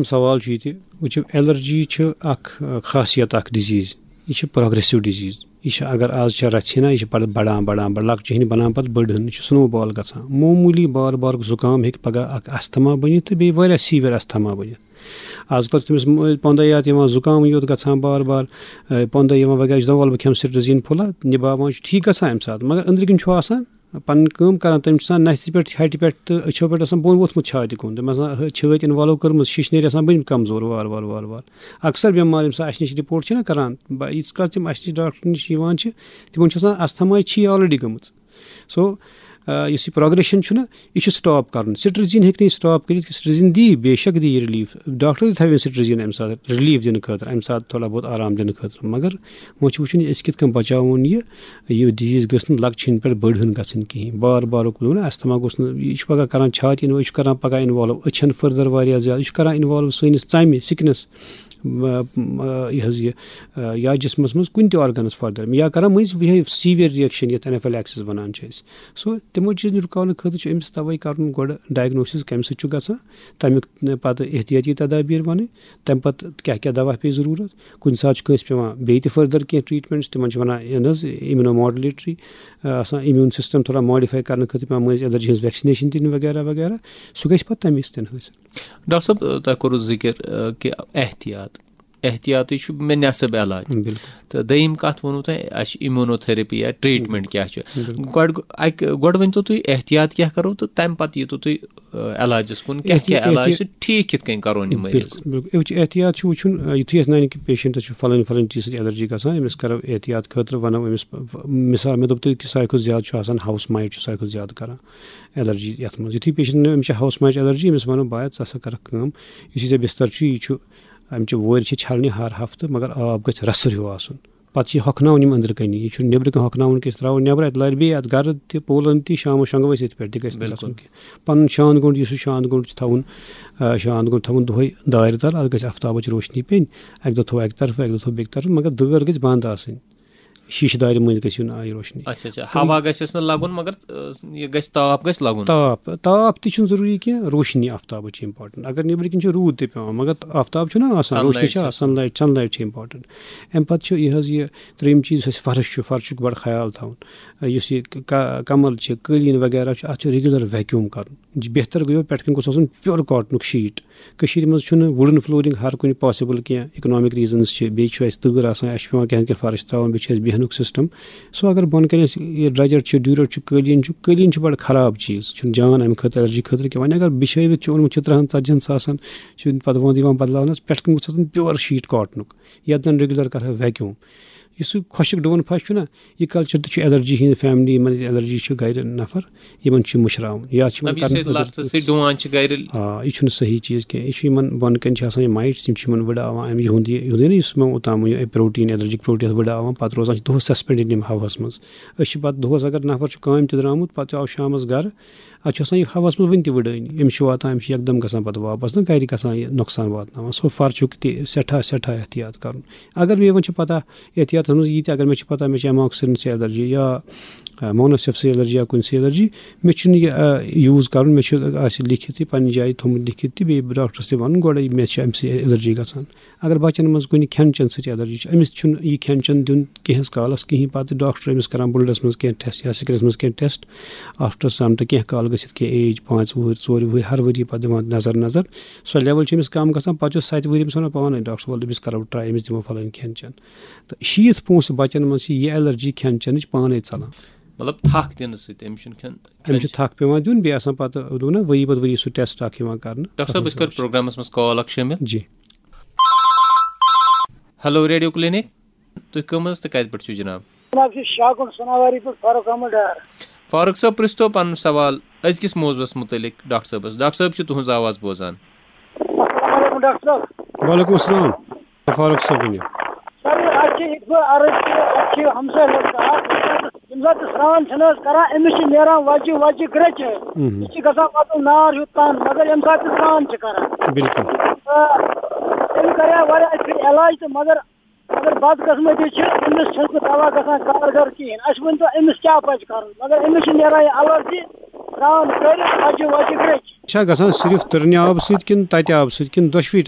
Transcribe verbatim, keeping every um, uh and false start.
سوال چھُ یہِ تہِ، وٕچھِو، ایلرجی چھِ اکھ، آ، خاصیت، اکھ ڈِزیٖز۔ یہِ چھِ پروگریسو ڈِزیٖز۔ یہِ چھِ، اگر آز چھےٚ رَژھِ ہنا، یہِ چھِ پَتہٕ بَڑان، بَڑان، بَڑان، لۄکچہِ ہِنٛدۍ بَنان پَتہٕ بٔڑ ہن۔ یہِ چھُ سنو بال گژھان۔ معموٗلی بار بارُک زُکام ہیٚکہِ پَگاہ اکھ اَستھما بٔنِتھ تہٕ بیٚیہِ واریاہ سیٖوِیَر اَستھما بٔنِتھ۔ آز کَل چھُ تٔمِس م-، پۄنٛدَے یوت یِوان، زُکامٕے یوت گژھان بار بار، آ، پۄنٛدَے یِوان وغیرہ۔ یہِ چھُ دَپان، وَلہٕ بہٕ کھٮ۪مہٕ سِٹرِزیٖن پھوٚلہ، نِباوان چھُ، ٹھیٖک گژھان اَمہِ ساتہٕ، مگر أنٛدرٕ کِنۍ چھُ آسان پَنٕنۍ کٲم کران، تٔمِس چھُ آسان نَستہِ پٮ۪ٹھ، ہَٹہِ پٮ۪ٹھ تہٕ أچھو پٮ۪ٹھ آسان بۄن ووٚتھمُت چھاتہِ کُن۔ تٔمۍ آسان ہہ-، چھٲتۍ involve کٔرمٕژ، شِشنیرِ آسان بٔنۍ کمزور وار وار وار وار۔ اکثر بٮ۪مار ییٚمہِ ساتہٕ اَسہِ نِش report چھِنہ کران، بہ-، ییٖتِس کالَس تِم اَسہِ نِش ڈاکٹر نِش یِوان چھِ، تِمن چھُ آسان asthma چھِ already گٔمٕژ۔ So، آ، یُس یہِ progression چھُنہ، یہِ چھُ stop کرُن۔ Cetirizine ہیٚکہِ نہٕ یہِ stop کٔرِتھ کہِ cetirizine دی، بے شک دی یہِ relief۔ ڈاکٹر تہِ تھاوِ cetirizine اَمہِ ساتہٕ relief دِنہٕ خٲطرٕ، اَمہِ ساتہٕ تھوڑا بہت آرام دِنہٕ خٲطرٕ۔ مگر وۄنۍ چھُ وٕچھُن، أسۍ کِتھ کٔنۍ بچاوون یہِ، یہِ disease گٔژھ نہٕ لۄکچہِ ہِنٛدِ پٮ۪ٹھ بٔڑ ہٕن گژھٕنۍ کِہیٖنۍ۔ بار بار اوکُن وَنان، asthma گوٚژھ نہٕ، یہِ چھُ پَگاہ کران چھاتہِ involve، یہِ چھُ کران پَگاہ involve أچھن further واریاہ زیادٕ، یہِ چھُ کران involve سٲنِس ژَمہِ، skin-س، م-، م-، یہِ حظ یہِ، آ، یا جسمَس منٛز کُنہِ تہِ organ-س further، یا کران مٔنٛزۍ یِہوٚے severe reaction، یَتھ anaphylaxis وَنان چھِ أسۍ۔ So، تِمو چیٖزَن رُکاونہٕ خٲطرٕ چھُ أمِس تَوَے کرُن گۄڈٕ diagnosis کَمہِ سۭتۍ چھُ گژھان، تَمیُک پَتہٕ احتیاطی تدابیر وَنٕنۍ، تَمہِ پَتہٕ کیٛاہ کیٛاہ دوا پیٚیہِ ضروٗرت۔ کُنہِ ساتہٕ چھُ کٲنٛسہِ پٮ۪وان بیٚیہِ تہِ further کینٛہہ treatments، تِمن چھِ وَنان، یہِ نہ حظ، immunomodulatory، آ، آسان immune system تھوڑا modify کرنہٕ خٲطرٕ پٮ۪وان مٔنٛزۍ allergy ہٕنٛز vaccination دِنۍ وغیرہ وغیرہ۔ سُہ گژھِ پَتہٕ تَمے سۭتۍ حٲصِل۔ ڈاکٹر صٲب، تۄہہِ کوٚروٕ ذِکِر، آ، کہِ احتیاط، احتیاطٕے چھُ مےٚ نٮ۪صٕب علاج۔ بِلکُل۔ تہٕ دوٚیِم کَتھ ووٚنوٕ تۄہہِ، اَسہِ چھِ immunotherapy یا treatment کیٛاہ چھُ۔ بِلکُل۔ گۄڈٕ، اَکہِ، گۄڈٕ ؤنۍ تو تُہۍ احتیاط کیٛاہ کَرو تہٕ تَمہِ پَتہٕ ییٖتو تُہۍ، آ، علاجَس کُن، کیٛاہ احتیاط، کیٛاہ علاج احتیاط۔ چھُ، ٹھیٖک کِتھ کٔنۍ کَرون یہِ مٔریٖض؟ بِلکُل، بِلکُل۔ یہِ چھُ احتیاط چھُ وٕچھُن، آ، یُتھُے اَسہِ نَنہِ کہِ patient-س چھُ فَلٲنۍ فَلٲنۍ چیٖز سۭتۍ allergy گژھان، أمِس کَرو احتیاط خٲطرٕ، وَنو أمِس، ف-، ف-، مِثال، مےٚ دوٚپ تۄہہِ کہِ ساروی کھۄتہٕ زیادٕ چھُ آسان house mite چھُ ساروی کھۄتہٕ زیادٕ کَران allergy یَتھ منٛز۔ یُتھُے patient-ن أمِس چھِ house mite allergy، أمِس وَنو، بایا، ژٕ ہسا کَرَکھ کٲم، یُس یہِ ژےٚ بِستَر چھُ، یہِ چھُ، اَمہِ چہِ وورِ چھِ چھَلنہِ ہر ہفتہٕ، مگر آب گژھِ رَسُر ہیوٗ آسُن۔ پَتہٕ چھِ یہِ ہۄکھناوُن یِم أنٛدرٕ کَنی۔ یہِ چھُنہٕ نیٚبرٕ کَنہِ ہۄکھناوُن کینٛہہ، أسۍ ترٛاوو نیٚبرٕ، اَتہِ لارِ بیٚیہِ اَتھ گَرٕ تہِ، پولَن تہِ، شامَس شۄنٛگو أسۍ ییٚتہِ پٮ۪ٹھ، تہِ گژھِ نہٕ بِلکُل۔ گژھُن کینٛہہ۔ پَنُن شانٛد گوٚنٛڈ، یُس یہِ شانٛد گوٚنٛڈ چھُ تھاوُن، آ، شانٛد گوٚنٛڈ تھاوُن دۄہَے دارِ تَل، اَتھ گژھِ آفتابٕچ روشنی پیٚنۍ، اَکہِ دۄہ تھاوو اَکہِ طرفہٕ، اَکہِ دۄہ تھاوو بیٚکہِ طرفہٕ، مگر دٲر گژھِ بنٛد آسٕنۍ۔ شیٖشہٕ دارِ مٔنٛزۍ گژھِ یُن آیہِ روشنی۔ اچھا، اچھا، تہٕ ہوا گژھٮ۪س نہٕ لَگُن، مگر، آ، یہِ گژھِ، تاپھ گژھِ لَگُن۔ تاپھ، تاپھ تہِ چھُنہٕ ضروٗری کینٛہہ، روشنی آفتابٕچ چھِ important۔ اگر نیٚبرٕ کِنۍ چھُ روٗد تہِ پٮ۪وان، مگر آفتاب چھُنہ آسان، روشنی sunlight چھِ چھِ آسان، sunlight، sunlight چھِ important۔ اَمہِ پَتہٕ چھُ یہِ حظ یہِ ترٛیٚیِم چیٖز، یُس اَسہِ فرٕش چھُ، فرشُک بَڑٕ خیال تھاوُن۔ یُس یہِ ک-، ک-، کَمَل چھِ، قٲلیٖن وغیرہ چھُ، اَتھ چھُ regular vacuum کَرُن۔ بہتر گوٚو، پٮ۪ٹھ کَنۍ گوٚژھ آسُن pure cotton-ُک sheet۔ کٔشیٖرِ منٛز چھُنہٕ wooden flooring ہر کُنہِ possible کینٛہہ، economic reasons چھِ، بیٚیہِ چھُ اَسہِ تۭر آسان، اَسہِ چھُ پٮ۪وان کینٛہہ نَتہٕ کینٛہہ فرٕش ترٛاوُن، بیٚیہِ چھُ اَسہِ بیٚہنُک system۔ So اگر بۄنہٕ کَنہِ اَسہِ یہِ درٛۄجر چھُ، ڈیوٗرر چھُ، قٲلیٖن چھُ، قٲلیٖن چھُ بَڑٕ خراب چیٖز، چھُنہٕ جان اَمہِ خٲطرٕ allergy خٲطرٕ کینٛہہ۔ وۄنۍ اگر بِچھٲوِتھ چھُ اوٚنمُت چھُ ترٛہَن ژَتجِہَن ساسَن، چھُ پَتہٕ وۄنۍ یِوان بدلاونَس، پٮ۪ٹھ کَنہِ گوٚژھ آسُن pure sheet cotton-ُک، یَتھ زَن regular کَرٕ ہا vacuum۔ یُس سُہ خۄشٕک ڈُوُن پھش چھُنہ، یہِ culture تہِ چھُ allergy ہِنٛدِ family، یِمن allergy چھِ گرِ نفر، یِمن چھُ یہِ مٔشراوُن۔ یا چھِ یِمن مطلب، یُس کرنہٕ یہِ خٲطرٕ لستہٕ سۭتۍ ڈُوان چھِ گرِ۔ آ، یہِ چھُنہٕ صحیح چیٖز کینٛہہ۔ یہِ چھُ یِمن بۄنہٕ کَنہِ چھِ آسان یہِ mites، یِم چھِ یِمن وٕڑاوان اَمہِ یِہُنٛد یہِ، یِہُنٛد یہِ نہ، یُس مےٚ اوٚتام یہِ protein، allergic protein وٕڑاوان، پتہٕ روزان چھِ دۄہس suspended یِم ہوہَس منٛز۔ أسۍ چھِ پتہٕ دۄہس، اگر نفر چھُ کامہِ تہِ درٛامُت، پتہٕ آو شامس گرٕ، اَتھ چھُ آسان یہِ ہوہَس منٛز وٕنہِ تہِ وٕڑٲنی۔ أمِس چھُ واتان، أمِس چھُ یکدم گژھان پتہٕ واپس نہ گرِ گژھان یہِ نۄقصان واتناوان۔ So فرشُک تہِ سٮ۪ٹھاہ، سٮ۪ٹھاہ احتیاط کرُن۔ اگر مےٚ وۄنۍ چھِ پتہ، احتیاطس منٛز یی تہِ، اگر مےٚ چھِ پتہ مےٚ چھِ amoxicillin allergy یا، آ، monocephaly allergy یا کُنہِ سٕے allergy، مےٚ چھُنہٕ یہِ، آ، use کرُن، مےٚ چھُ، آسہِ لیکھِتھ یہِ پننہِ جایہِ تھوٚمُت لیکھِتھ تہِ، بیٚیہِ ڈاکٹرس تہِ ونُن گۄڈے مےٚ چھِ امہِ سۭتۍ allergy گژھان۔ اگر بچن منٛز کُنہِ کھٮ۪ن چٮ۪ن سۭتۍ allergy چھِ، أمِس چھُنہٕ یہِ کھٮ۪ن چٮ۪ن دیُن کینٛہہ کالس کِہیٖنۍ، پتہٕ ڈاکٹر أمِس کران blood-س منٛز کینٛہہ test یا skin-س منٛز کینٛہہ test، after some time کینٛہہ کال گٔژھِتھ، کینٛہہ age، پانٛژھ وُہٕرۍ، ژورِ وُہٕرۍ، ہر ؤری پتہٕ دِوان نظر نظر۔ سۄ level چھِ أمِس کم گژھان، پتہٕ چھُ سَتہِ وُہٕرۍ أمِس ونان پانے ڈاکٹر صٲب، ولہٕ أمِس کرو try، أمِس دِمو فلٲنۍ کھٮ۪ن چٮ۪ن۔ تہٕ شیٖتھ پونٛسہٕ بچن منٛز چھِ یہِ allergy کھٮ۪ن چٮ۪نٕچ پانے ژلان۔ مطلب، تھکھ دِنہٕ سۭتۍ، أمِس چھُنہٕ کھٮ۪ن، أمِس چھُ کھٮ۪ن تھکھ پٮ۪وان دیُن، بیٚیہِ آسان پتہٕ، دوٚپ نہ، ؤری پتہٕ ؤری سُہ test اکھ یِوان کرنہٕ۔ ڈاکٹر صٲب، أسۍ کرو پروگرامس منٛز call اکھ شٲمِل۔ جی۔ Hello، radio clinic. تُہۍ کٕم حظ تہٕ کتہِ پٮ۪ٹھ چھِو جناب؟ جناب، چھِ شاہ گُنڈ سناواری پٮ۪ٹھ فاروق احمد ڈار۔ فاروق صٲب، پرٛژھتو پنُن سوال أزکِس موضوعس مُتعلق ڈاکٹر صٲبس۔ ڈاکٹر صٲب چھِ تُہٕنٛز آواز بوزان۔ السلام علیکم ڈاکٹر صٲب۔ وعلیکم السلام۔ فاروق صٲب ؤنِو۔ سر، اَسہِ چھِ یِتھ پٲٹھۍ عرض کہِ اَسہِ چھِ ہمساے لٔڑکہٕ اَکھ، ییٚمہِ ساتہٕ تہِ سرٛان چھِنہٕ حظ کران، أمِس چھِ نیران وَجہِ وَجہِ گرٛٮ۪چہِ۔ مہم۔ یہِ چھِ گژھان وَتُن نار ہیوٗ تَن، مگر ییٚمہِ ساتہٕ تہِ سرٛان چھِ کران۔ بِلکُل۔ تہٕ أمۍ کَریو واریاہ پھِرِ علاج تہٕ مگر مگر بدقسمتی چھِ، أمِس چھُنہٕ سُہ دوا گژھان کارگر کِہیٖنۍ۔ اَسہِ ؤنۍ تو، أمِس کیٛاہ پَزِ کَرُن؟ مگر أمِس چھِ نیران یہِ allergy، کرٛان کٔرِتھ اَجہِ وَجہِ گرٛیٚچ۔ چھا گژھان صرف تٕرنہِ آبہٕ سۭتۍ کِنہٕ تَتہِ آبہٕ سۭتۍ کِنہٕ دۄشوٕے